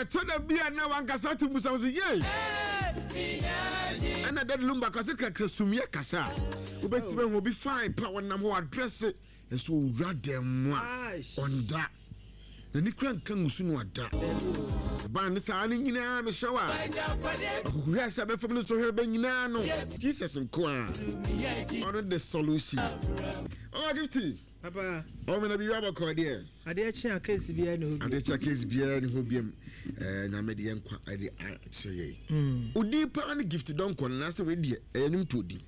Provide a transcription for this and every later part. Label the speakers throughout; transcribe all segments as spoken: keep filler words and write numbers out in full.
Speaker 1: Ɛtɔ da bi a na wankasa te musa sɛ yei ɛna Daddy Lumba kase kakra sumyɛ kasa a wobɛtumi ahu obi fine pa, wɔnam hɔ adrɛse, ɛnso owura dɛm mu a ɔnda n'ani kura nka ngusu no ada ɛbaa ne saa no nyinaa. Mehyɛ wo a ɔkokohwɛ sɛ bɛfam no sɔhwɛ bɛ nyinaa no, Jesus nko a ɔno the solution. Ɔma Gifty.
Speaker 2: Papa.
Speaker 1: Ɔmena biribi abɔkɔ deɛ.
Speaker 2: Adeɛ kye a, case biara ne hɔ bi.
Speaker 1: Adeɛ kye a, case biara ne hɔ biam. ɛɛ nyame de yɛn nkwa ɛde akyerɛ yɛn. Odin paa ne Gift Dɔnkɔ no naasɛ wei deɛ ɛyɛ nim to odin?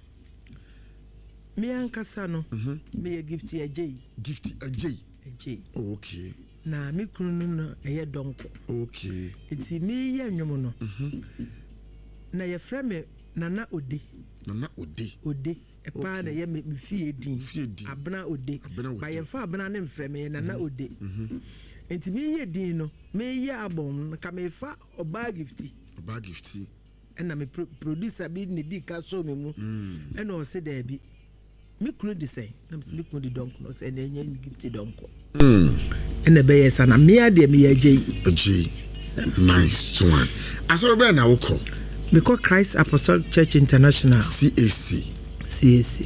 Speaker 2: Me ankasa no, meyɛ Gift Agyei.
Speaker 1: Gift Agyei.
Speaker 2: Agyei.
Speaker 1: Oh, okay.
Speaker 2: Na me kunu no no ɛyɛ Dɔnkɔ.
Speaker 1: Okay
Speaker 2: nti meyɛ nnwom no na yɛfrɛ me Nana Ode.
Speaker 1: Nana Ode.
Speaker 2: Ode ɛpaa na ɛyɛ me me fie din.
Speaker 1: Fie din.
Speaker 2: Abena Ode.
Speaker 1: Abena Ode.
Speaker 2: Ba yɛmfa Abena ne mfrɛ me, yɛ Nana Ode. Nti meyɛ din no, meyɛ album no ka mefa Ɔbaa Gifty.
Speaker 1: Ɔbaa Gifty.
Speaker 2: Ɛna me pro producer bi ne di ka so me mu, ɛna ɔse daabi, me kunu de sɛn na mesɛ me kunu de Dɔnkɔ no, ɔsɛ ɛna ɛnyɛ Gift Dɔnkɔ, ɛna ɛbɛyɛ sa na mmea deɛ meyɛ Agyei.
Speaker 1: Agyei, nice one. Asɔre bɛɛ na wokɔ?
Speaker 2: Mekɔ Christ Apostolic Church International.
Speaker 1: C A C.
Speaker 2: C A C.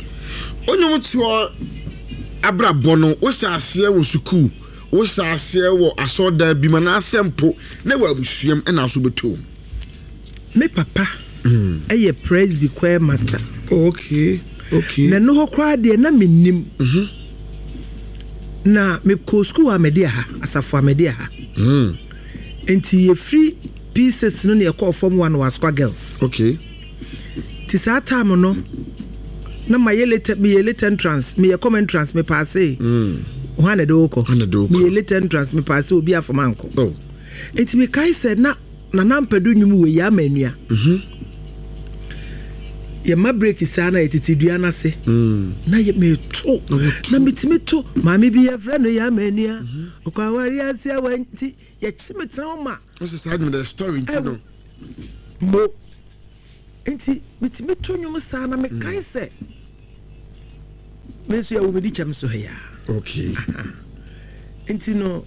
Speaker 1: Onyom toɔ abrabɔ no, wohyɛ aseɛ wɔ sukuu, wohyɛ aseɛ wɔ asɔredan bi mu, anaasɛ mpo na wɔ abusuam ɛna so bɛtɔm?
Speaker 2: Me papa ɛyɛ Presby choir master.
Speaker 1: Oh, okay okay
Speaker 2: Na ɛno hɔ koraa deɛ na mennim. Na mekɔɔ sukuu Amadi aha, Asafo Amadi aha. Nti yɛfiri P six no ne yɛkɔɔ form one wɔ Asokwa Girls.
Speaker 1: Okay
Speaker 2: nti saa time no na mayɛ late, meyɛ late entrance, meyɛ common entrance, mepaase. Hwan na ɛde wokɔ?
Speaker 1: Hwan na ɛde wo kɔ?
Speaker 2: Meyɛ late entrance, mepaase, obi afam ankɔ.
Speaker 1: Oh.
Speaker 2: Nti mekae sɛ na Nana Mpɛdo nnwom wɔ yi ama anua yɛma break saa na yɛtete dua no ase na yɛ meto na metumi to maame bi yɛfrɛ no yɛ ama anua ɔkɔ aware ase awa, nti yɛkye me tena hɔ ma.
Speaker 1: Wosɛ saa dwuma the story nti no.
Speaker 2: Mo nti metumi to nnwom saa na mekae sɛ me nso yɛwɔ medi kyɛm so ha yaa.
Speaker 1: Okay
Speaker 2: nti no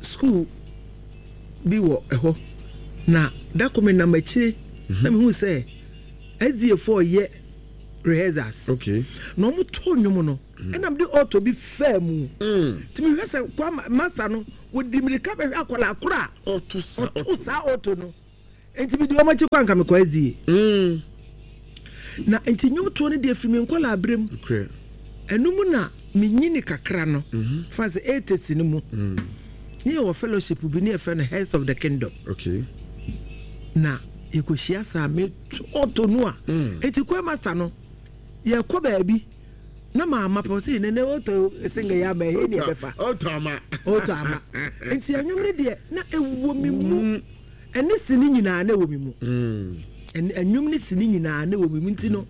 Speaker 2: school bi wɔ ɛhɔ na dako me nam akyire na mehu sɛ S D A foɔ yɛ rehearsals
Speaker 1: okay
Speaker 2: na ɔmo to nnwom no, ɛna mede auto bi faa mu.
Speaker 1: Mm.
Speaker 2: Nti mehwɛ sɛ kwa master no wɔdi mmirika bɛhwɛ akwadaa koro a
Speaker 1: ɔto sa.
Speaker 2: Ɔto saa auto no, nti mede wɔn akyi kɔ anka mekɔ S D A.
Speaker 1: Mm.
Speaker 2: Na nti nnwomtoɔ no deɛ firi me nkɔla aberɛ mu.
Speaker 1: Nokorɛ.
Speaker 2: Ɛno mu na menyini kakra no fa sɛ eighties no mu ne yɛwɔ fellowship bi ne yɛfrɛ no Heads of the Kingdom.
Speaker 1: Okay
Speaker 2: na yɛkɔhyia saa meto auto no a, nti choir master no yɛkɔ baabi na maama pɛ sɛ nene auto singa yɛ ama ɛyɛ ne yɛbɛfa.
Speaker 1: Ɔtɔ ama.
Speaker 2: Auto ama. Nti ɛnwom no deɛ na ɛwɔ me mu, ɛne sini nyinaa na ɛwɔ me mu.
Speaker 1: Mm.
Speaker 2: ɛn- ɛnwom ne sini nyinaa na ɛwɔ me mu, nti no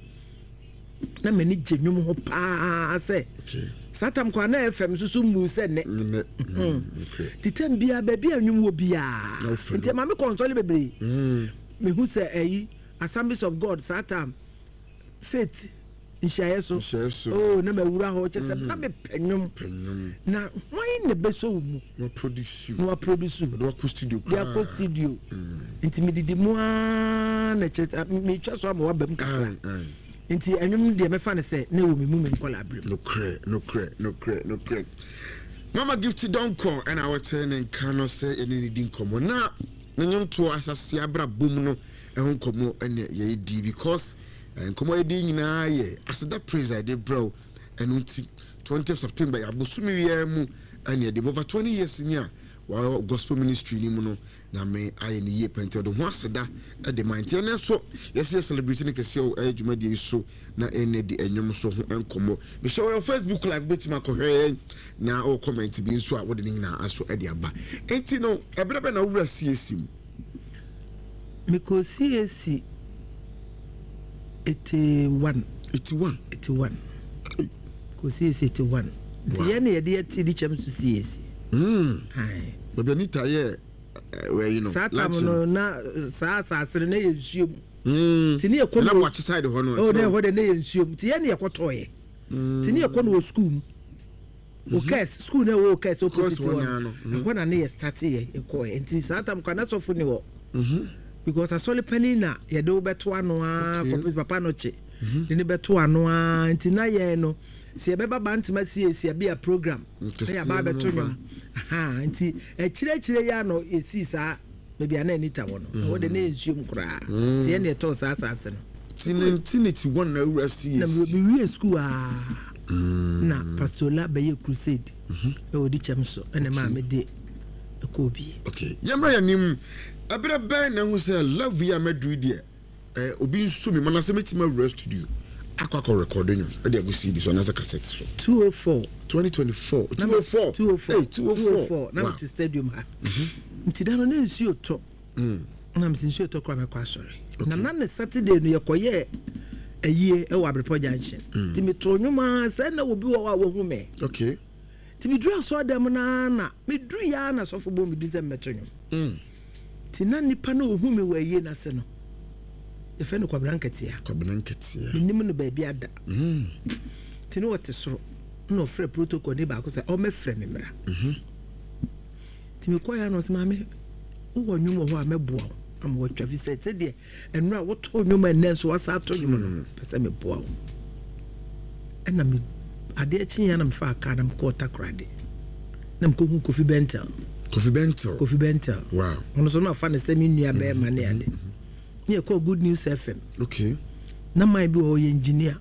Speaker 2: na m'ani gye nwom ho paa sɛ
Speaker 1: Okay
Speaker 2: saa tam kɔ a na F M nso so mu sɛ nnɛ.
Speaker 1: Nnɛ. Mm. Okay.
Speaker 2: Nti tam biara baabi a nwom wɔ biara
Speaker 1: Na wofɛ
Speaker 2: nti
Speaker 1: no.
Speaker 2: ɛma me kɔnsɔle bebree.
Speaker 1: Mm.
Speaker 2: Mehu sɛ ɛyi Assemblies of God saa tam faith nhyiaeɛ so.
Speaker 1: Nhyiaeɛ so.
Speaker 2: Oh, na mawura hɔ kyɛ sɛ na mepɛ nwom.
Speaker 1: Pɛ nnwom.
Speaker 2: Na hwan na bɛsɔ wo mu?
Speaker 1: Na produce.
Speaker 2: Na waproduce.
Speaker 1: Ɔde wakɔ studio.
Speaker 2: De akɔ studio. Nti medidi mu aa na kyɛ sɛ metwa so ama waba mu kakra.
Speaker 1: Aye, aye.
Speaker 2: Nti ɛnwom no deɛ, mɛfa no sɛ na ɛwɔ me mu me nkɔla aberɛ mu.
Speaker 1: Nokorɛ, nokorɛ, nokorɛ, nokorɛ. Mama Gift Dɔnkɔ ɛna wɔte ne nka no sɛ ɛne ne di nkɔmmɔ na ne nnwomtoɔ asase abrabɔ mu no ɛho nkɔmmɔ ɛne yɛdi, because eh, nkɔmmɔ yɛdi nyinaa yɛ aseda praise a yɛde brɛ wo. Ɛno nti twentieth September yɛ abosome wiara mu ɛne yɛde over twenty years ni a wɔwɔ gospel ministry ni mu no, Nyame ayɛ ne yie pɛnti ɔde ho aseda ɛde ma. Nti ɛnɛ nso yɛsɛ yɛ celebrate ne kɛseɛ wɔ ɛyɛ dwumadie yi so na ɛnɛ di ɛnwom so ho nkɔmmɔ. Mehyɛ wɔyɛ Facebook Live, bɛtumi akɔhwɛ yɛn na ɔwɔ comment bi nso a wode ne nyinaa aso ɛde aba. Nti no ɛberɛ bɛ na wowura C A C mu?
Speaker 2: Mekɔ C A C eighty-one.
Speaker 1: eighty-one?
Speaker 2: eighty-one, kɔ C A C eighty-one. Nti
Speaker 1: Wow.
Speaker 2: yɛn ne yɛde yɛte di kyɛm so C A C.
Speaker 1: Mm.
Speaker 2: Aye.
Speaker 1: Baabi Anita yɛ wɔyi no.
Speaker 2: Saa tam no na eh, saa asase no na yɛ nsuo mu.
Speaker 1: Mm.
Speaker 2: Nti ne yɛkɔ
Speaker 1: na
Speaker 2: no
Speaker 1: Boakye side hɔ no.
Speaker 2: Oh, na ɛhɔ de na yɛ nsuo mu, nti yɛn ne yɛkɔtɔɔyɛ, nti ne yɛkɔ no wɔ sukuu mu. Okes school na ɛwɔ Okes opposite
Speaker 1: Okes hɔ
Speaker 2: hɔ
Speaker 1: naa
Speaker 2: no.
Speaker 1: No.
Speaker 2: Ɛhɔ na ne yɛ start yɛ ɛkɔɛ. Nti saa tam kɔ anasɔfo ni hɔ because asɔre panin na yɛde wo bɛto ano aa
Speaker 1: Okay.
Speaker 2: kɔpɛ papa no kye de ne bɛto ano aa. Nti na yɛn no sɛ yɛbɛba Bantama siesie bi a program na
Speaker 1: Nkɛseɛ
Speaker 2: yɛaba abɛto
Speaker 1: no ba.
Speaker 2: nnwom. Aha, nti akyirɛkyirɛ yi ano yɛsii saa baabi a na Anita wɔ no, ɛhɔ de ne yɛ nsuom koraa, nti yɛne yɛtɔɔ saa asase no.
Speaker 1: Ti nineteen eighty-one na awura
Speaker 2: Na
Speaker 1: C A C.
Speaker 2: Mewie school aa na Pastor bɛyɛ crusade ɛwɔ di kyɛm so, ɛna maa mede ɛkɔɔ bie.
Speaker 1: Okay, yɛmmra yɛ anim. Ɛberɛ bɛn na ɛhu sɛ love yi a maduru deɛ, eh, obi nso mi mana sɛ mɛtumi awura studio akɔ akɔ record nnwom ɛde agu C D so anaasɛ cassette so?
Speaker 2: two oh four.
Speaker 1: twenty twenty-four, two oh four.
Speaker 2: two oh four.
Speaker 1: Hey, two oh four.
Speaker 2: two oh four na
Speaker 1: Wow.
Speaker 2: mete stadium ha, nti da no na nsuo tɔ
Speaker 1: Mm.
Speaker 2: na mese nsuo tɔ koraa mɛkɔ asɔre. Na na ne Saturday no yɛkɔyɛɛ ayie ɛwɔ Abrepɔ Junction, nti metoo nnwom a sɛ na obi wɔ hɔ a wahu me.
Speaker 1: Okay
Speaker 2: nti meduru asɔre no na meduru yɛa na sɔfo bɔ medin sɛ mmɛto nnwom.
Speaker 1: mm.
Speaker 2: Nti na nipa no ɔhu me wɔ ayie no ase no, yɛfrɛ no Kwabena Nketea.
Speaker 1: Kwabena Nketea.
Speaker 2: Menim no baabi ada.
Speaker 1: Mm.
Speaker 2: Nti ne wɔte soro na ɔfrɛ protocol ne baako sɛ ɔmɛfrɛ me mmra. Nti mekɔɛ no, ɔsɛ, "Maame, wowɔ nnwom wɔ hɔ a mɛboa wo ama watwa fi sɛ sɛdeɛ ɛno a wotoo nnwom a ɛnnɛ nso wasa ato nnwom no, pɛ sɛ meboa wo." Ɛna me adeɛ kyeeɛ na mefaa kaa na mekɔɔ Takorade na mekɔhu Kofi Bentel.
Speaker 1: Kofi Bentel.
Speaker 2: Kofi Bentel.
Speaker 1: Wow
Speaker 2: ɔno so na afa ne sɛ me nua bɛrima ne ade ne yɛkɔɔ Good News F M.
Speaker 1: Okay
Speaker 2: na man bi wɔ hɔ yɛ engineer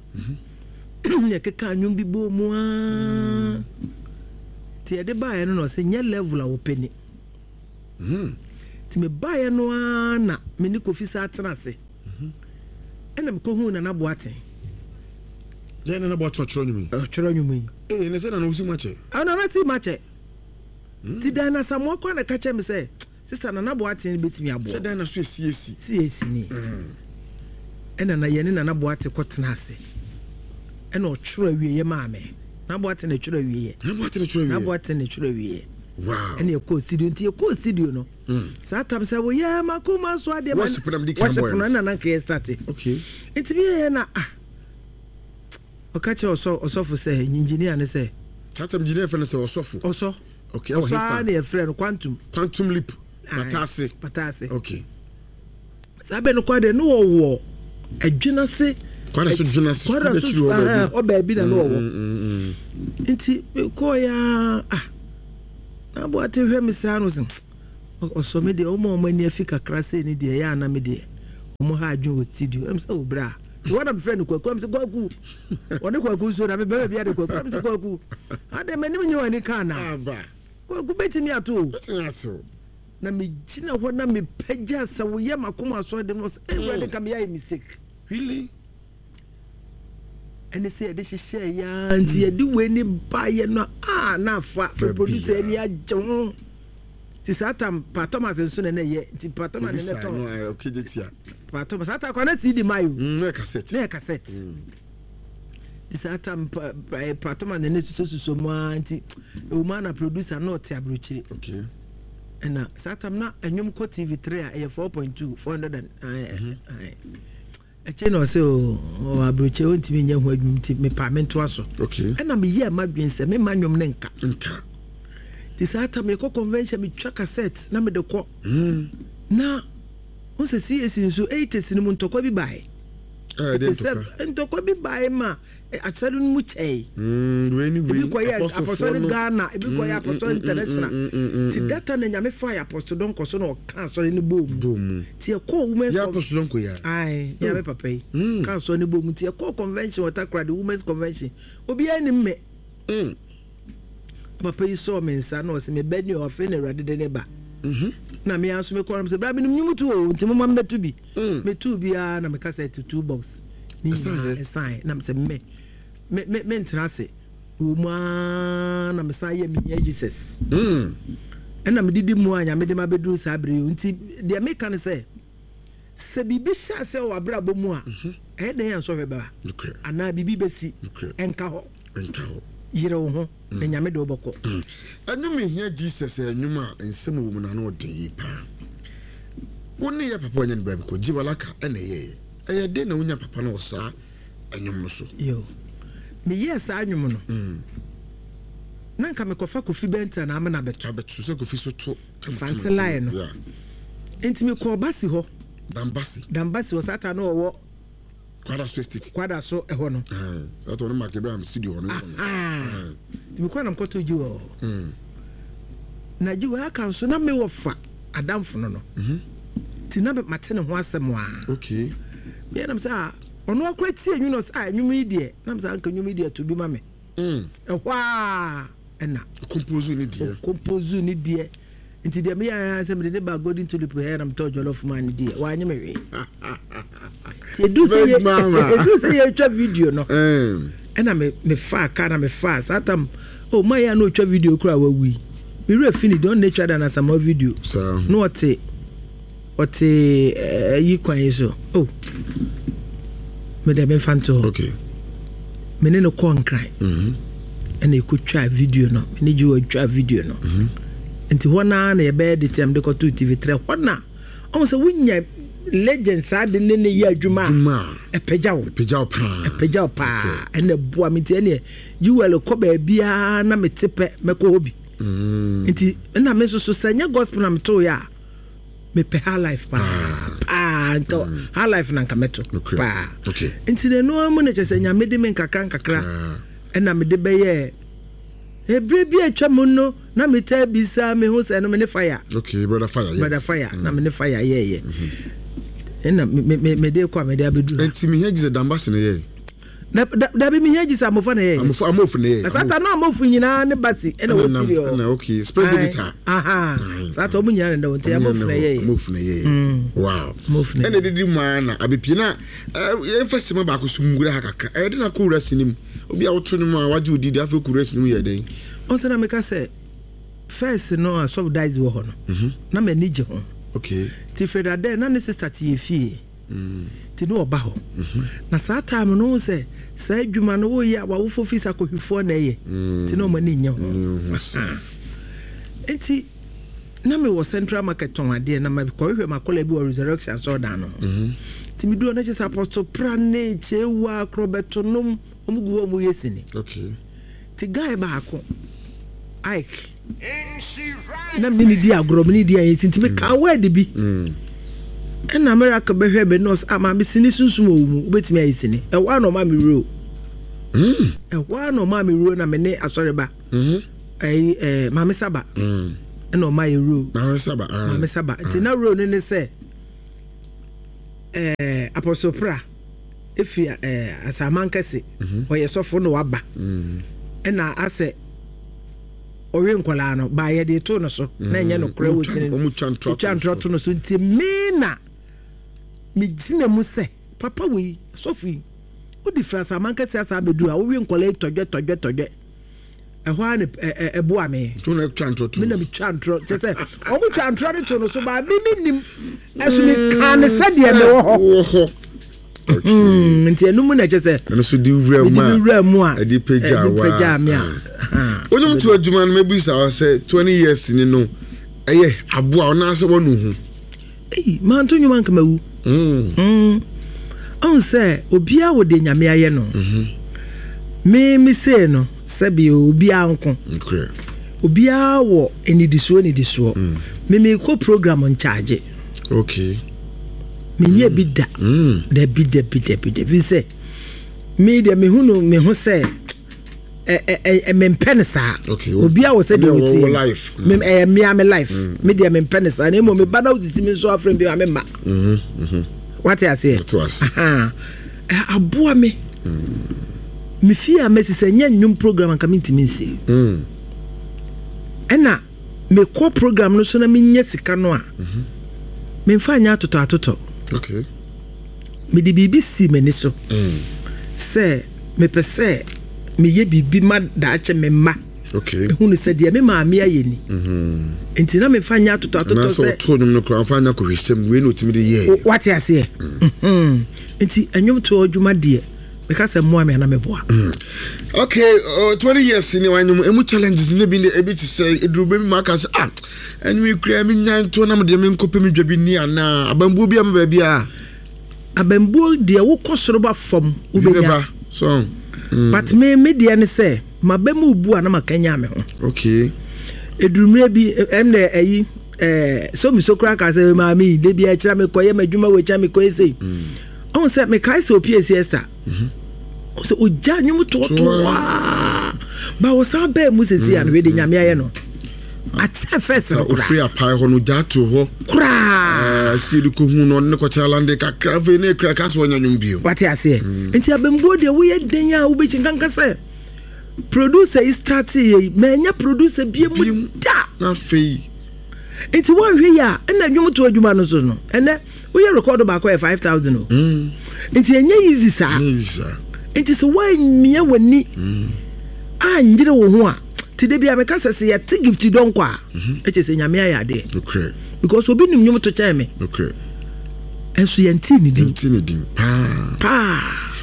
Speaker 2: ne yɛkeka nnwom bi bɔɔ mu aa, nti yɛde baeɛ no na ɔsɛ nyɛ level a wɔpɛ ni.
Speaker 1: mm.
Speaker 2: Nti mebaeɛ no ara na me ne Kofi saa atena ase, ɛna mekɔhuu Nana Boaten.
Speaker 1: Yɛn nana bɔ ɔtwerɛtwerɛ nnwom yi?
Speaker 2: Ɔtwerɛ nnwom yi.
Speaker 1: Ee, ne sɛ nana wosi mu akyɛ.
Speaker 2: Ah, Nana si makyɛ, nti dan na Samoa kɔ na ka kyerɛ me sɛ sister Nana Boaten bɛtumi aboa.
Speaker 1: Sɛ dan na so esiesie.
Speaker 2: C A C ni. Ɛna na yɛne Nana Boate kɔtena ase, ɛna ɔtwerɛ awieɛ maa me. Nana Boate na ɛtwerɛ awieɛ.
Speaker 1: Nana Boate na twerɛ
Speaker 2: Nana
Speaker 1: wie.
Speaker 2: Boate na ɛtwerɛ awieɛ.
Speaker 1: Wow
Speaker 2: ɛna yɛkɔɔ studio, nti yɛkɔɔ studio no
Speaker 1: Mm.
Speaker 2: saa tam sɛ woyɛ makoma so adeɛ ma-
Speaker 1: Worship na mede kan
Speaker 2: worship
Speaker 1: bɔɛ
Speaker 2: no
Speaker 1: no.
Speaker 2: ɛna na nka yɛ start.
Speaker 1: Okay
Speaker 2: nti bi yɛyɛ na ah, ɔka kyerɛ ɔsɔ ɔsɔfo sɛ engineer ne sɛ
Speaker 1: saa tam gyina yɛfrɛ no sɛ ɔsɔfo.
Speaker 2: Ɔsɔ.
Speaker 1: Okay, ɛwɔ
Speaker 2: Ɔsɔ ara
Speaker 1: hefa?
Speaker 2: na yɛfrɛ no Quantum.
Speaker 1: Quantum Leap.
Speaker 2: Aye.
Speaker 1: Pataase.
Speaker 2: Pataase.
Speaker 1: Okay
Speaker 2: saa bɛ no kɔ deɛ ne wɔwɔ adwena se.
Speaker 1: Kwada so dwena se.
Speaker 2: Kwada so
Speaker 1: akyiri hɔ baabi.
Speaker 2: Ɔ baabi na ne wɔwɔ.
Speaker 1: Mm, mm, mm.
Speaker 2: Nti mekɔɔ ya ah, na Aboate hwɛ me saa no sɛ ɔsɔ me deɛ ɔma ɔmo ani afi kakra sei ne deɛ ɛyɛ ana me deɛ ɔmo ha adwene wɔ studio. Ɛm sɛ wo bra nti wɔna mefrɛ no Kwaku. Ɛm sɛ Kwaku, ɔne Kwaku nso na mebɛma bi ade Kwaku. Ɛm sɛ Kwaku ade m'anim nyɛ w'ani ka ana?
Speaker 1: Aba.
Speaker 2: Kwaku bɛtumi ato o.
Speaker 1: Bɛtumi ato.
Speaker 2: Na megyina hɔ na mepagya sɛ woyɛ makoma asɔre de no sɛ Awurade ka meyɛ ayɛ mistake.
Speaker 1: Really?
Speaker 2: Ɛne sɛ yɛde hyehyɛ yaa, nti yɛde wei ne baeɛ no a na afa fɛ producer ani agye ho, nti saa tam Pa Thomas nso na ɛyɛ, nti Pa Thomas na
Speaker 1: Ebi
Speaker 2: ɛtɔn.
Speaker 1: saa no ayɛ okay de tia.
Speaker 2: Pa Thomas saa tam kɔ na C D ma yo.
Speaker 1: Mm, na yɛ cassette.
Speaker 2: Na yɛ cassette, nti saa tam pa pa Pa Thomas na ne susususu mu ara, nti ewu mu ana producer na ɔte aburokyire.
Speaker 1: Okay
Speaker 2: ɛna saa tam na ɛnwom kɔ T V three a ɛyɛ four point two, four hundred and ɛkyɛ na ɔsɛ o ɔ aburokyire ɔntumi nyɛ ho adwuma, nti mepa me ntoa so.
Speaker 1: Okay
Speaker 2: ɛna meyɛ ma dwen sɛ mema nnwom ne nka.
Speaker 1: Nka.
Speaker 2: Nti saa tam yɛkɔ convention, metwa cassette na mede kɔ.
Speaker 1: Mm.
Speaker 2: Na wo sɛ C A C nso eighties no mu ntɔkwa bi bae.
Speaker 1: Ɛyɛ de
Speaker 2: Ɛte sɛ
Speaker 1: ntɔkwa.
Speaker 2: Ntɔkwa bi bae ma eh, akyerɛ no mu kyɛe.
Speaker 1: Mm, wei ni wei.
Speaker 2: Ebi kɔyɛ
Speaker 1: Apostlefoɔ
Speaker 2: Apostolic
Speaker 1: no.
Speaker 2: Ghana, ebi kɔyɛ
Speaker 1: Mm,
Speaker 2: Apostolic
Speaker 1: mm, mm,
Speaker 2: International.
Speaker 1: mm, mm, mm,
Speaker 2: Nti
Speaker 1: mm.
Speaker 2: data na Nyame fa yɛ Apostle Dɔnkɔ so na ɔka asɔre no bɔɔ mu.
Speaker 1: Bɔ mu.
Speaker 2: Nti yɛkɔɔ women's
Speaker 1: Yɛ
Speaker 2: con-
Speaker 1: Apostle Dɔnkɔ yɛ.
Speaker 2: Ae, nyame papa yi
Speaker 1: Mm.
Speaker 2: ka asɔre no bɔɔ mu, nti yɛkɔɔ convention wɔ Takoradi, women's convention, obiara nim me.
Speaker 1: Mm.
Speaker 2: Papa yi sɔɔ me nsa na ɔsɛ meba ni ɔfei na Awurade de ne ba.
Speaker 1: Mhm.
Speaker 2: Na me nso mekɔ sɛ bra menom nwom tu o, nti moma mmɛto bi.
Speaker 1: Mm.
Speaker 2: Metuu biara na meka sɛ two box ne
Speaker 1: Ɛsan
Speaker 2: nyinaa
Speaker 1: yɛ?
Speaker 2: ɛsan na mesɛ me me me mentena ase wɔ mu aa na mesan yɛ mehia Jesus.
Speaker 1: Mm.
Speaker 2: Ɛna medidi mu a Nyame de ma bɛduru saa bere yi o. Nti deɛ meka ne sɛ sɛ biribi hyɛ ase wɔ abrabɔ mu a, ɛyɛ dɛn yɛ nsɔhwɛ bɛba
Speaker 1: Nokorɛ.
Speaker 2: anaa biribi bɛsi.
Speaker 1: Nokorɛ.
Speaker 2: Ɛnka hɔ.
Speaker 1: Nka hɔ.
Speaker 2: Yere wo ho na Nyame de wobɛkɔ.
Speaker 1: Ɛnwom Ehia Jesus yɛ nnwom a nsɛm wɔ mu na ano ɔden yi paa. Wo ne yɛ papa ɔnyɛ no baabi kɔ Gyibalaka ɛna ɛyɛyɛ ɛyɛ den na wonya papa no wɔ saa ɛnwom no so.
Speaker 2: Yo, meyɛɛ saa nnwom no.
Speaker 1: Mm.
Speaker 2: Na nka mekɔfa Kofi Bɛnta na amena bɛto.
Speaker 1: Abɛto sɛ Kofi so to.
Speaker 2: Fante line no.
Speaker 1: Yeah.
Speaker 2: Nti mekɔɔ Basi hɔ.
Speaker 1: Dambasi.
Speaker 2: Dambasi hɔ saa ta na ɔwɔ
Speaker 1: Kwada so Estate.
Speaker 2: Kwada so ɛhɔ no.
Speaker 1: Saa ta ɔno Mark Abraham studio hɔ no.
Speaker 2: Nti mekɔɔ na mekɔtɔ gyi wɔ hɔ. Na gyi wɔ aka nso na mewɔ fa adamfo no no. Nti na mate ne ho asɛm a.
Speaker 1: Okay.
Speaker 2: Meyɛ nam sɛ a ɔno akora tie nwom no sɛ a nwom yi deɛ nam sɛ anka nwom yi deɛ to bi ma me. Ɛhɔ a ɛna.
Speaker 1: Compose ne deɛ.
Speaker 2: Compose ne deɛ. Nti deɛ meyɛ ayɛ sɛ mede ne ba Golden Tulip hɛ na metɔ jollof ma ne deɛ wanyɛ me hwee. Nti ɛduru sɛ yɛtwa video no ɛna mefaa ka na mefaa saa tam oh ma yɛ a na ɔtwa video kora wawu yi mewerɛ fi ne deɛ ɔno na ɛtwa da na Asamoah video na ɔte ɔte ayi kwan yi so oh mede memfa nto hɔ.
Speaker 1: Okay.
Speaker 2: Me ne no kɔɔ Nkran ɛna ɛkɔtwa video no me ne gye wɔtwa video no. Nti hɔ naa na yɛbɛyɛ de tiam de kɔto T V three hɔ na ɔmo sɛ wonya legend saa de ne ne yɛ adwuma a ɛpɛgya wo
Speaker 1: ɛpɛgya wo paa
Speaker 2: ɛpɛgya wo paa ɛna ɛboa me. Nti ɛneɛ Jewel kɔ baabiara na mete pɛ mɛkɔ hɔ bi. Nti ɛna me nso so sɛ nyɛ gospel na metoeɛ a mepɛ high life paa paa nka high life na nka mɛto paa. Nti na ɛno mu na kyerɛ sɛ Nyame de me nkakra nkakra ɛna mede bɛyɛ ebre bi atwa mu no na meta bisa me ho sɛ no me ne fire.
Speaker 1: Okay, brother fire, yes.
Speaker 2: Brother fire mm. Na me ne fire yeah yeah. Mm-hmm. Na me me me de kwa me de abedu.
Speaker 1: Enti me heji Dambasi na ye.
Speaker 2: Na da bi me heji sa amofa na ye.
Speaker 1: Amofa amofu na ye.
Speaker 2: Sata na amofu nyina ne basi e na wo siri o.
Speaker 1: Na okay, spread the guitar.
Speaker 2: Aha. Sata omu nyina na nti amofu na ye.
Speaker 1: Amofu na ye. Wow.
Speaker 2: Amofu na.
Speaker 1: Ene didi mu ana abepie na yemfa sima ba ko so ngura ha kakra. E de na ko wura sinim. Obi a woto no mu a waje odidi afa ko wura sinim ye den.
Speaker 2: Onse na meka sɛ first no a soft dies wɔ hɔ no. Na m'ani gye ho.
Speaker 1: Okay.
Speaker 2: Ti Fred Ade na ne sister ti efie. Ti no ɔba hɔ. Na saa time no sɛ saa adwuma no wo ye awofo fi sa kohwifo na ye. Ti no m'ani nye ho. Enti na me wɔ Central Market ton ade na ma kɔhwehwɛ makola bi wɔ Resurrection so dan no. Ti me du na kyɛ sɛ Apostle Pra ne Chewa Krobeto nom omugu wo mu yesini.
Speaker 1: Okay.
Speaker 2: Ti guy baako Ike na me ni di agro me ni di ayi nti me ka word bi. Ɛna miracle bɛhwɛ me nurse ama me sini sunsum owu mu wobɛtumi ayi sini ɛwɔ na ɔma me wuro. Ɛwɔ na ɔma me wuro na me ne asɔre ba. Ɛyi eh Maame Saba. Ɛna ɔma yɛ wuro.
Speaker 1: Maame Saba.
Speaker 2: Maame Saba nti na wuro no ne sɛ eh Apostle Pra efi eh Asamankese ɔyɛ sɔfo na waba. Ɛna asɛ ɔwe nkwalaa no ba yɛ de to no so na ɛnyɛ no kora wɔ sini twa ntorɔ to no so nti me na me gyina mu sɛ papa wei sɔfo yi wodi fra Asamankese asa abɛduru a wowe nkwalaa tɔdwɛ tɔdwɛ tɔdwɛ ɛhɔ a ne ɛboa me me na metwa ntorɔ kyɛ sɛ ɔmo twa ntorɔ no to no so ba me menim ɛso meka ne sɛdeɛ mewɔ hɔ. Nti ɛno mu na kyɛ sɛ
Speaker 1: ɛno so di wura mu a
Speaker 2: wura mu a
Speaker 1: ɛde pagya
Speaker 2: me a
Speaker 1: onyom to adwuma no mebisa sɛ twenty years ni no ɛyɛ aboa ɔna sɛ wɔnu hu.
Speaker 2: Ei manto nwuma nka mawu. Mm. Ɔn sɛ obia wo de Nyame ayɛ no. Me me say no sɛ bi obia nko. Obia wɔ enidisoɔ enidisoɔ. Me me kɔ program ncharge.
Speaker 1: Okay.
Speaker 2: Me nye bi da. Da bi da bi da bi da bi sɛ me de me hu no me hu sɛ eh eh me mpɛ ne saa. Obia wɔ sɛ de wo
Speaker 1: life.
Speaker 2: Me eh me am life. Me de me mpɛ ne saa na emo me ba na wotiti me nso afrɛ bi me ma.
Speaker 1: Mhm.
Speaker 2: What you say? Aha. Aboa me. Me fie a me sɛ nya nnwom program anka me ntimi nsi.
Speaker 1: Mm.
Speaker 2: Ɛna me kɔ program no so na me nya sika no a. Me mfa nya atotɔ atotɔ.
Speaker 1: Okay.
Speaker 2: Me de biribi si m'ani so.
Speaker 1: Mm.
Speaker 2: Sɛ me pɛ sɛ me yɛ biribi ma daakyɛ me mma.
Speaker 1: Okay.
Speaker 2: Ehu ne sɛ deɛ me maame ayɛ ni.
Speaker 1: Mhm.
Speaker 2: Nti na me mfa nya atotɔ atotɔ
Speaker 1: sɛ. Na sɛ ɔto nnwom no koraa mfa nya kɔhwehwɛm wei na otimi de yɛ.
Speaker 2: Wate aseɛ. Mhm. Nti nnwom to adwuma deɛ meka sɛ mmoa me ana meboa.
Speaker 1: Okay, uh, twenty years ni wanyom emu challenges ne bi ne ebi ti sɛ eduru be mi aka sɛ ah enwi kura mi nya nto na me de me nkɔpɛ mi dwa bi ni ana abambuo bi ama ba bi a
Speaker 2: abambuo deɛ wokɔ soro ba fam wobɛnya
Speaker 1: so
Speaker 2: mm. But me me deɛ ne sɛ Maba mu bu a na makanya me ho.
Speaker 1: Okay.
Speaker 2: Edurumire bi ɛm ayi eh so mi so kra ka sɛ maami de bi akyira me kɔyɛ madwuma we kya me kɔyɛ sei. Ɔn sɛ me kai sɛ opie siesta. Mhm. Sɛ ogya nwom totoa. Ba wo san bɛɛ mu sesi an we de nyame ayɛ no. Akyɛ first no kra.
Speaker 1: Ofiri apae hɔ no gya to hɔ.
Speaker 2: Kra.
Speaker 1: Eh si de ko hu no ne kɔkyɛ lande kakra afei ne kra ka so ɔnya nwom bio.
Speaker 2: Wate ase. Nti abembuo de wo ye den a wo be nkanka sɛ producer is starting ye manya producer bi mu da.
Speaker 1: Na afei
Speaker 2: nti won hwe ya na nwom to adwuma no so no ene wo ye record ba ko five thousand o. Nti enye easy sa. Nti so wan mia wani anyire wo ho a ti de bia me ka sese ye ti gift don kwa e che se nyame ayade.
Speaker 1: Okay.
Speaker 2: Because obi nim nwom to chen me.
Speaker 1: Okay.
Speaker 2: Enso ye nti ni din.
Speaker 1: Nti ni din pa.
Speaker 2: Pa.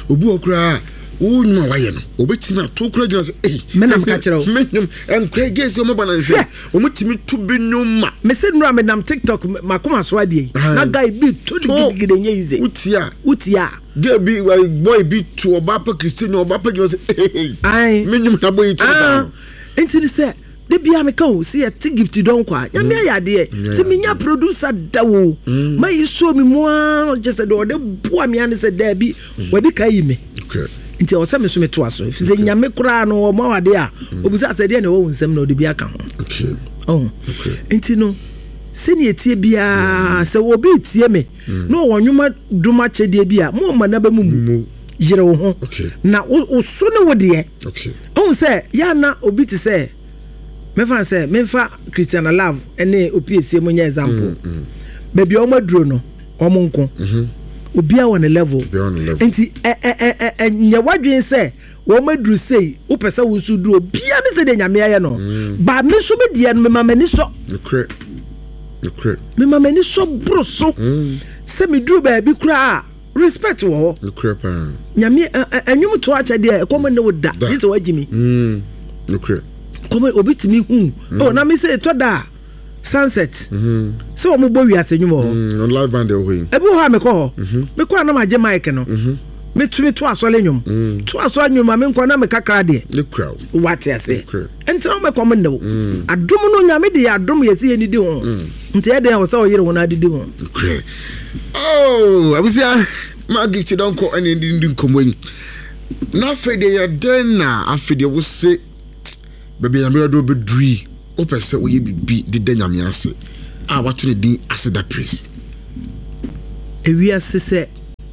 Speaker 1: Obi okra wo nyu wa ye no obetimi ato kra gina se eh
Speaker 2: me na mka kire o
Speaker 1: me nyum enkra gese o mo ba na nse o mutimi to bi nyum ma
Speaker 2: me se nura me nam TikTok makoma so ade na guy bi to digigide nye easy
Speaker 1: utia
Speaker 2: utia
Speaker 1: girl bi boy bi to oba pa Christian oba pa gina se eh
Speaker 2: ai
Speaker 1: me nyum na boy to ba
Speaker 2: enti ni se de bia me ka o se ye ti gift don kwa nyame ayade se me nya producer da wo ma yi so mi mu a je se de ode boa me ane se da bi wadi ka yi me.
Speaker 1: Okay.
Speaker 2: Nti o se me so me to aso fi se nyame kura no o ma wade a obusa se de na wo nsem na ode bi aka ho.
Speaker 1: Okay.
Speaker 2: Oh.
Speaker 1: Okay.
Speaker 2: Nti no se ne etie bia se obi tie me na o nwoma doma chede bi a mo ma na ba mu yire wo ho. Na o so ne wo de.
Speaker 1: Okay.
Speaker 2: O se ya na obi ti se me fa se me fa Christian Love ene opiesie mo nya example. Ba bi o maduro no o mo nko. Obi a on level. Nti eh eh eh nya wadwen se wo maduru sei wo pese wo su duro bia ne se de nyame aye no. Ba me so be de no me ma mani so.
Speaker 1: Nokre. Nokre.
Speaker 2: Me ma mani so bro so. Se me duru ba bi kura respect wo ho.
Speaker 1: Nokre pa.
Speaker 2: Nyame anwum to ache de e komo ne wo da. This wa jimi.
Speaker 1: Mm. Nokre.
Speaker 2: Komo obi timi hu. Oh na me se to da sunset. Mm. So wo mo wiase nwum ho.
Speaker 1: Mm, on live band e ho yi.
Speaker 2: E bi ho a me ko ho. Me ko na ma je mic no. Me tumi to asole nwum. To asole nwum ma me nko na me kakra de.
Speaker 1: Ne kra.
Speaker 2: What you say? Enti na me kom ne wo. Adom no nyame de adom yesi ye ni di ho. Nti e de wo se wo yire ho na adidi ho.
Speaker 1: Kra. Oh, abusia ma gift don ko ene ndi nkomo yi. Na fe de ye den na afi de wo se baby nyame do bedui. O pese wo ye bibi de da nyame ase a wato ne din aseda praise.
Speaker 2: Ewiase se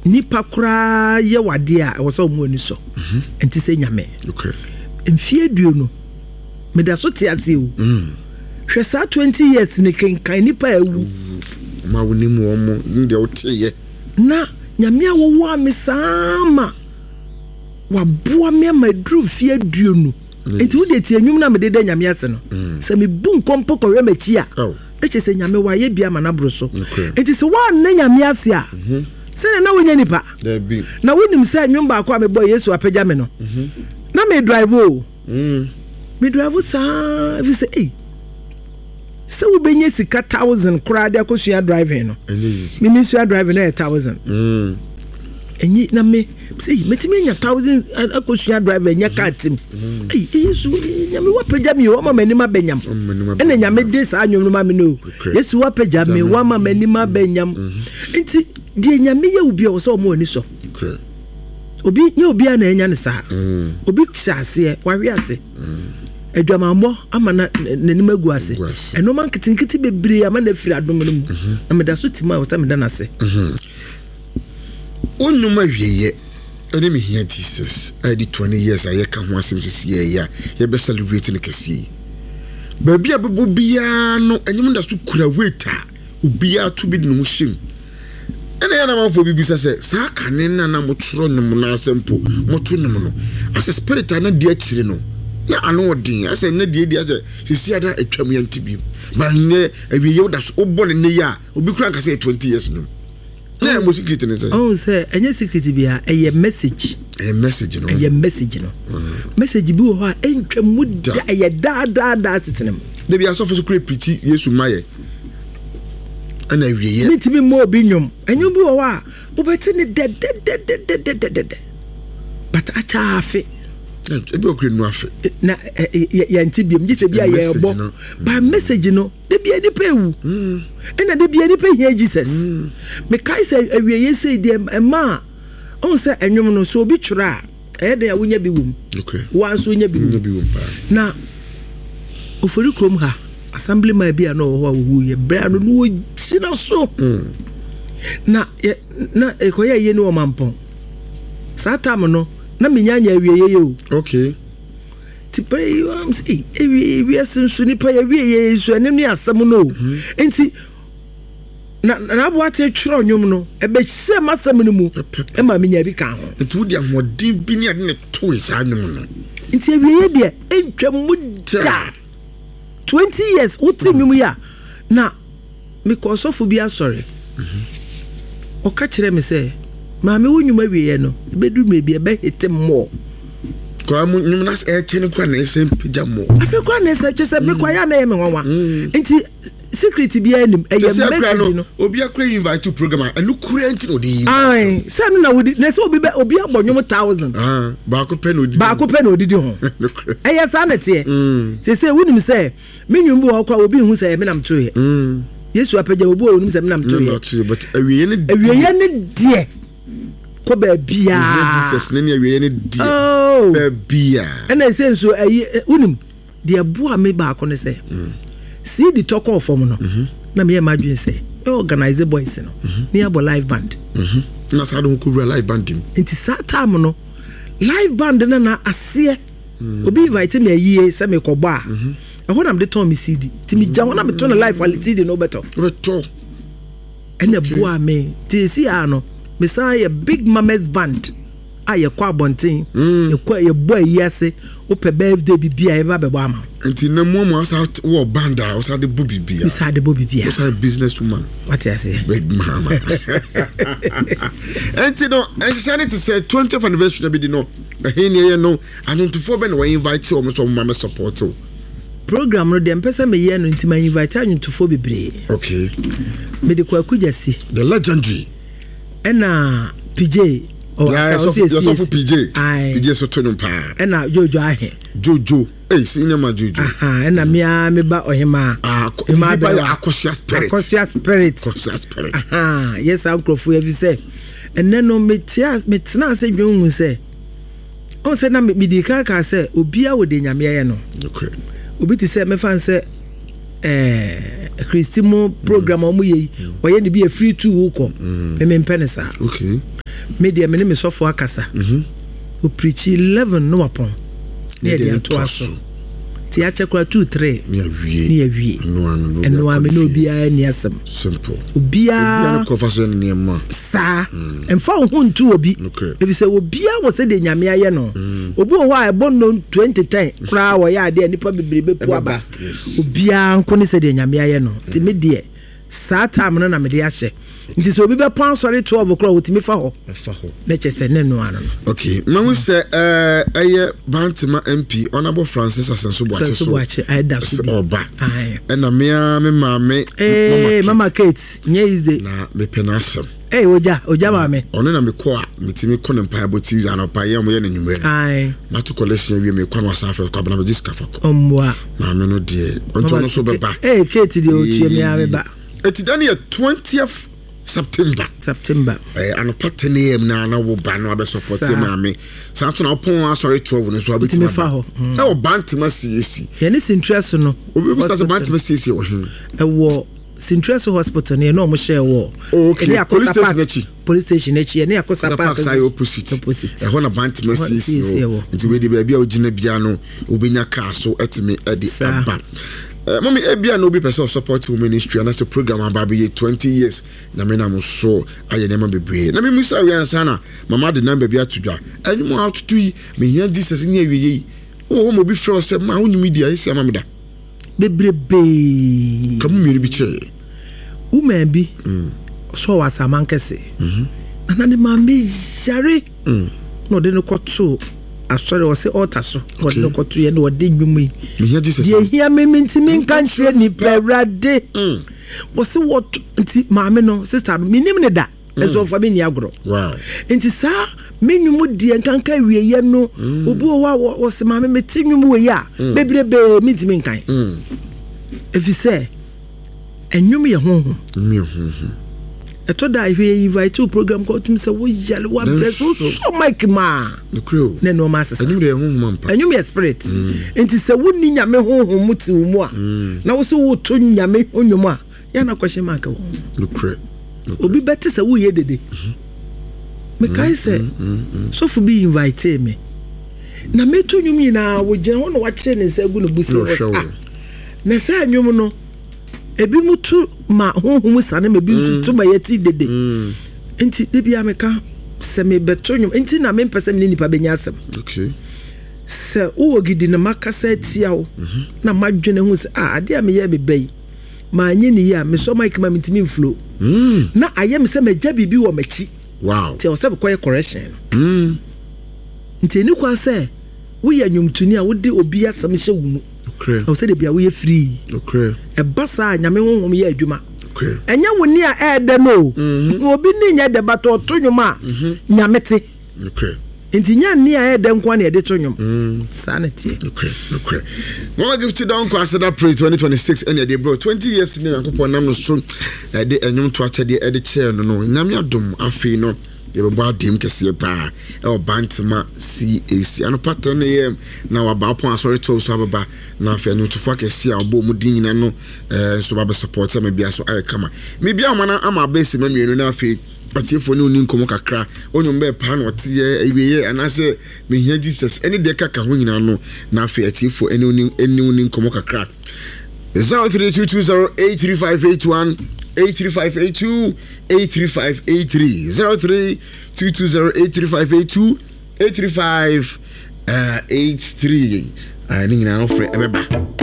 Speaker 2: nipa kura ye wade a wo se omu ani so. Enti se nyame.
Speaker 1: Okay.
Speaker 2: Mfie duo no me da so te ase o. Hwe sa twenty years ne kenkan nipa awu.
Speaker 1: Ma wo ni mu omo ndi o te ye.
Speaker 2: Na nyame a wo wo me sama wa boa me ma dru fie duo no. Enti wo de tie nwum na me de da nyame ase no. Se me bu nkompo kɔhwɛ machi a. E che se nyame wa ye bia ma na bro so. Enti se wa na nyame ase a. Se na wo nya nipa. Na wo nim se nwum ba kwa me boy Yesu apagya me no. Na me drive o. Me drive sa if you say eh se wo benye sika thousand kura de akosua driving no. Me me sua driving na thousand. Mm. Enyi na me say metimi nya thousand akosua driver nya car team. Eh Yesu nyame wa pagya me o ma mani ma benyam. Ene nyame de saa nwom no ma me no. Yesu wa pagya me wa ma mani ma benyam. Nti de nyame ye obi o so mo ani so. Obi nye obi a na enya ne saa. Obi hye ase wa hwe ase. Adwamambo ama na nanim agu ase. Eno man kitinkiti bebre ama na firi adom no mu. Na me da so tima o se me da na ase.
Speaker 1: Onuma wiye ene me hia Jesus. I did twenty years I ka ho asem sisi ye ya ye be celebrate ne kese. Ba bia bebo bia no enyum da so kura waiter obi a to bi no him. Ene ya na manfo bi bisa se saa kane na na motoro no na asempo moto no no. As a spirit na di akire no. Na ano odin ase na die die ase sisi ada atwam ye ntibi. Ba nye awiye wo da so obo ne ne ya obi kura nka se twenty years no. Na mo secret ne say.
Speaker 2: Oh say enye secret bia eye message.
Speaker 1: Eye message no.
Speaker 2: Eye message no. Message bi wo ho a entwa mu da eye da da da sitinem.
Speaker 1: De bia sofo so kura preach Yesu maye. Ana awiye.
Speaker 2: Mitimi mo obi nwom. Enyo bi wo ho a wo beti ne de de de de de de de. But acha afi.
Speaker 1: Ebi okure nu afe.
Speaker 2: Na yɛnte biom gye sɛ bi a yɛrebɔ ba message no de bia nipa ewu ɛna de bia nipa hia Jesus. Mekae sɛ awieyɛ sɛ deɛ ɛma a ɔhu sɛ ɛnwom no so obi twerɛ a ɛyɛ den a wonya bi wom, woa nso wonya bi wom. Na Ofori kurom ha assembly man bi a na ɔwɔ hɔ a wɔwuiɛ berɛ a no na wɔgyina so na na ɛkɔyɛ yie ne wɔ Mampɔn saa tam no na menya nya awieyɛ yɛ o.
Speaker 1: Okay.
Speaker 2: Ti pɛrɛ yi wɔn sɛ ewie wiase nso nipa yɛ wie yɛ nso ɛne ne asɛm no o. Nti na na aboate twerɛ nnwom no ɛbɛhyɛ m'asɛm no mu ɛma menya bi ka ho.
Speaker 1: Nti wodi ahoɔden bi ne ade ne toe saa nnwom no.
Speaker 2: Nti awieyɛ deɛ ɛntwa mu da. Twenty years wote nnwom yi a na mekɔ ɔsɔfo bi asɔre. Ɔka kyerɛ me sɛ maame wo nnwom awieɛ no ɛbɛduru mmerɛ bi ɛbɛhete mmɔɔ.
Speaker 1: Kwa mu nnwom na ɛkyɛ ne kora na ɛsɛ mpagya mmɔɔ.
Speaker 2: Afei kora na ɛsɛ kyɛ sɛ mekɔ ayɛ na ɛyɛ me nwanwa. Nti secret biara nim ɛyɛ message no.
Speaker 1: Obi akora invite to program a ɛno kura nti na ɔde yi.
Speaker 2: Ayi sɛ no na wodi na sɛ obi bɛ obi abɔ nnwom thousand.
Speaker 1: Baako pɛ na odi.
Speaker 2: Baako pɛ na odidi ho. Ɛyɛ saa na teɛ. Sese wunim sɛ me nnwom bi wɔ hɔ kora obi nhu sɛ ɛmi nam to yɛ. Yesu apagya obi wɔ onim sɛ mi nam to yɛ.
Speaker 1: But awieyɛ ne deɛ.
Speaker 2: Awieyɛ ne deɛ. Kɔ baabiara.
Speaker 1: Jesus ne ne awieyɛ ne deɛ. Baabiara.
Speaker 2: Ɛna ɛsɛ nso ɛyi wunim deɛ boa me baako ne sɛ. C D tɔkɔɔ fam no. Na meyɛ m'adwene sɛ me organize boys no. Ne yɛabɔ live band.
Speaker 1: Na saa de ho kɔwura live band mu.
Speaker 2: Nti saa time no live band no na aseɛ. Obi invite me ayie sɛ mekɔbɔ a. Ɛhɔ na mede tɔn me C D. Nti megya hɔ na metɔ no live C D no wobɛtɔ.
Speaker 1: Wobɛtɔ.
Speaker 2: Ɛna boa me. Nti ɛsi a no mesan yɛ Big Mamas Band a yɛkɔ abɔnten. Yɛkɔ yɛbɔ ayi ase. Wopɛ birthday bibi a yɛba bɛbɔ ama.
Speaker 1: Nti na mu amu asa wɔ band a ɔsa de bɔ bibia.
Speaker 2: Ɔsa de bɔ bibia.
Speaker 1: Ɔsa business woman.
Speaker 2: Wate ase.
Speaker 1: Big mama. Nti no nhyehyɛ ne te sɛ twentieth anniversary na bi di no. Ɛhe ne yɛ no anwontofo bɛ na wɔ invite wɔn so wɔn ma me support o.
Speaker 2: Program no deɛ mpɛ sɛ meyɛ no nti ma invite anwontofo bebree.
Speaker 1: Okay.
Speaker 2: Mede Kwaku Gyasi.
Speaker 1: The legendary.
Speaker 2: Ɛna P J. Oh,
Speaker 1: yeah, so P J. P J so to no pa.
Speaker 2: Ɛna Jojo ahe.
Speaker 1: Jojo. Eh, senior man Jojo.
Speaker 2: Aha, ɛna me a me ba ohema.
Speaker 1: Ah, me ba Akosua spirit.
Speaker 2: Akosua spirit.
Speaker 1: Akosua spirit.
Speaker 2: Aha, yes, ankrofo e fi sɛ ɛnɛ no me tia me tena ase dwen hu sɛ on sɛ na me di kan ka sɛ obi a wo de nyame ye no.
Speaker 1: Okay.
Speaker 2: Obi ti sɛ me fan sɛ eh Christimo program omu ye oye ne bi e free to wo kɔ. Me me mpɛ ne saa.
Speaker 1: Okay.
Speaker 2: Me deɛ me ne me sɔfo akasa.
Speaker 1: Mhm.
Speaker 2: O preach eleven no apon. Ne de ato aso. Ti akyɛ kora two three.
Speaker 1: Ne awie.
Speaker 2: Ne awie.
Speaker 1: Eno
Speaker 2: ame no obi a ni asɛm.
Speaker 1: Simple.
Speaker 2: Obi a
Speaker 1: ne kɔfa so ne nneɛma.
Speaker 2: Saa. Emfa wo ho ntu obi. Efi sɛ obi a wɔ sɛ de nyame ayɛ no. Obi wɔ hɔ a ɛbɔ no twenty ten kora wɔ yɛ ade nipa bebrebe pu aba. Obi a nko ne sɛ de nyame ayɛ no. Ti me deɛ saa time no na me de ahyɛ. Nti sɛ obi bɛpɔn asɔre twelve o'clock wotumi fa hɔ.
Speaker 1: Fa hɔ.
Speaker 2: Na kyɛ sɛ ne no ano no.
Speaker 1: Okay, ma wo sɛ eh ɛyɛ Bantama M P Honorable Francis Asenso Boakye so.
Speaker 2: Asenso Boakye ɛda so bi.
Speaker 1: Ɔba. Ɛna me a me maame
Speaker 2: eh Mama Kate nye easy.
Speaker 1: Na me pɛ na asɛm.
Speaker 2: Eh oja oja maame.
Speaker 1: Ɔno na me kɔ a metimi kɔ ne mpaebɔ T V anɔpa yɛ mo yɛ ne nwumre.
Speaker 2: Aye.
Speaker 1: Ma to collection wie me kɔ no asa afɛ kɔ abana me jiska fa kɔ.
Speaker 2: Ɔmmoa.
Speaker 1: Maame no deɛ ɔnto no so bɛba.
Speaker 2: Eh Kate deɛ otie me a meba.
Speaker 1: Eti dan yɛ twentieth September.
Speaker 2: September.
Speaker 1: Eh, anopa ten A M na na wo ba no abe support maame. Saa so na opon asɔre twelve no so abetimi
Speaker 2: fa ho.
Speaker 1: E wo Bantama C A C.
Speaker 2: Ye ne Sintriaso no.
Speaker 1: Obi bi sa Bantama C A C wo hin.
Speaker 2: E wo Sintriaso hospital ne na omo share wo.
Speaker 1: Okay. Police station achi.
Speaker 2: Police station achi ye ne Akosa Park
Speaker 1: side opposite.
Speaker 2: Opposite.
Speaker 1: E ho na Bantama C A C wo. Nti we de ba bia ogina bia no obenya car so etimi e de aba. Uh, mommy, ebia no be person support wo ministry and that's a program about be twenty years. Na me na mo so aye na bebre. Na me musa we ansa na mama de number bi atodwa. Anyu mo atoto yi me hia Jesus ni awiye yi. Wo mo bi frɛ sɛ ma wo nyimi dia esi ama me da.
Speaker 2: Bebrebe.
Speaker 1: Ka mu mienu bi kyerɛ.
Speaker 2: Woman bi.
Speaker 1: Mm.
Speaker 2: So wa samankese.
Speaker 1: Mhm.
Speaker 2: Na na ne ma me yare.
Speaker 1: Mm.
Speaker 2: Na ode no kɔto asɔre ɔse altar so. Ɔde no kɔto ye na ɔde nwum yi.
Speaker 1: Me hia Jesus.
Speaker 2: Ye hia me mintimi nka nkyerɛ ni pɛrade.
Speaker 1: Mm.
Speaker 2: Ɔse what nti maame no sister no minim ne da. Ɛnso ɔfa me nni agorɔ. Nti saa me nnwom deɛ nkanka wieyɛ no, obi wɔ hɔ a wɔse maame mete nnwom wɔ yi a bebrebee mentumi nkan. Ɛfiri sɛ ɛnwom yɛ honhom. Ɛtɔ da ahwɛ yɛ invite wo program kɔ ɔtum sɛ woyale woabrɛ so wosɔ mic maa na nneɛma asesa. Ɛnwom yɛ spirit. Nti sɛ wonni Nyame honhom mu te wo mu a na wo sɛ woto Nyame nnwom a yɛna question mark wɔ. Obi bɛte sɛ woyɛ dede. Mekae sɛ sɔfo bi invite me na meto nnwom nyinaa wogyina hɔ na wakyerɛ ne nsa agu ne bu sɛ ah na sɛ nnwom no ebi mu to ma honhom sane ma ebi nso to ma yɛte dede. Nti de bia meka sɛ mebɛto nnwom nti na mempɛ sɛ mene nipa bɛnya asɛm. Sɛ wowɔ gidi na makasa atia wo na madwene ho sɛ ah ade a meyɛ meba yi ma nye ne yi a mesɔ mic ma mentumi mflo na ayɛ me sɛ magya biribi wɔ m'akyi. Nti ɛwɔ sɛ mekɔyɛ correction no. Nti ɛni kwan sɛ woyɛ nnwomtoni a wode obi asɛm hyɛ wo mu. Ɛwɔ sɛ de bia woyɛ free. Ɛba saa Nyame honhom yɛ adwuma. Ɛnyɛ wo ni a ɛɛdɛ no. Obi ni nyɛ dɛ but ɔto nnwom a Nyame te. Nti nya ni a ɛɛdɛ nko na yɛde to nnwom. Saa na tie.
Speaker 1: Mama Gifty Donkor Aseda Praise twenty twenty-six ɛna ɛde bro twenty years ni Nyankopɔn nam no so ɛde ɛnwom to akyɛdeɛ ɛde kyɛɛ no no. Nyame adom afei no yɛbɛbɔ adim kɛseɛ paa ɛwɔ Bantama C A C anɔpa ten A M na waba apɔn asɔre to so ababa na afei ɛnwomtofoɔ akɛseɛ a ɔbɔ mu din nyina no nso ba bɛ support ama bia so ayɛ kama. Mebia ɔma na ama abɛsi ma mmienu na afei atiefoɔ ne oni nkɔmmɔ kakra onyom bɛɛ paa na ɔteɛ awieɛ anaasɛ mehia Jesus ɛne deɛ kaka ho nyinaa no na afei atiefoɔ ɛne oni ɛne oni nkɔmmɔ kakra. Zero three two two zero eight three five eight one eight three five eight two eight three five eight three zero three two two zero eight three five eight two eight three five eight three. Ne nyinaa wofrɛ ɛbɛba.